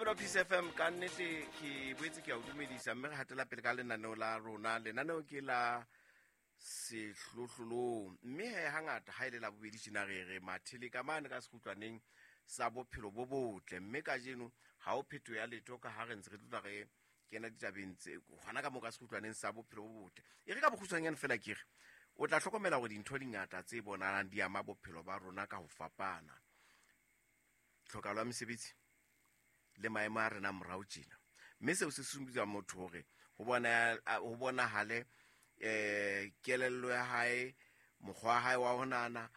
Momamedi wa Peace FM, ka nnete ke boetse ke a o dumedisa, mme re hatela pele ka lenaneo la rona. Lenaneo ke la Sehlohlolong, mme he hangata ha e le Labobedi tjena re re mathele ka mane ka sekgutlwaneng sa bophelo bo botle. Mme kajeno ha o phetho ya letho ka ha re ntse re tlotla re kena ditabeng tse hona ka moo ka sekgutlwaneng sa bophelo bo botle. E re ka bokgutshwanyane fela ke re o tla hlokomela hore dintho di ngata tse bonahalang di ama bophelo ba rona ka ho fapana. Tlhokahalo ya mesebetsi le maemo a rena morao tjena, mme seo se susumetsa motho hore ho bonahale kelello ya hae, mokgwa wa hae wa ho nahana,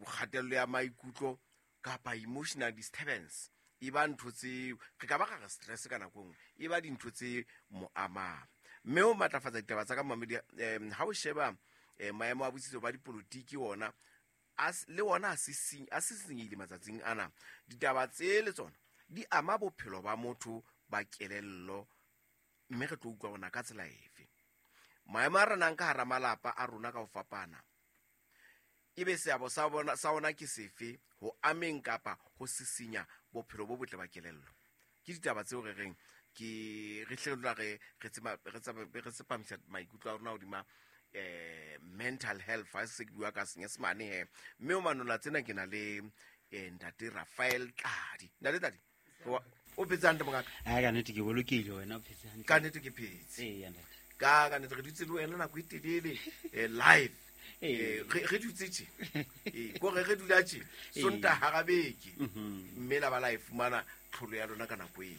kgatello ya maikutlo kapa emotional disturbance e ba ntho tse re ka ba ra re stress ka nako e nngwe, e ba dintho tse mo amang. Mme ho matlafatsa ditaba tsa ka momamedi, ha o sheba maemo a botsitso ba dipolotiki ona le ona a sisinyeile matsatsing ana. Ditaba tse le tsona di ama bophelo ba motho ba kelello, mme re tlo utlwa ona ka tsela efe. Maemo a renang ka hara malapa a rona ka ho fapana, ebe seabo sa bona sa ona ke sefe ho ameng kapa ho sisinya bophelo bo botle ba kelello. Ke ditaba tseo re reng ke re hle re re re tseba re tseba re tsepamisa maikutlo a rona hodima mental health, ha se ke bua ka Senyesemane he. Mme o manola tsena ke na le ntate Raphael Tladi. Ntate Tladi, o phetse hantle mongaka? Ha, ka nnete ke bolokehile, wena o phetse hantle? Ka nnete ke phetse. Ee, ntate. Ka nnete re dutse le wena nako e telele, live. Re dutse tje. Kore re dula tje. Sontaha hara beke. Mme la ba la e fumana tlholo ya lona ka nako eo.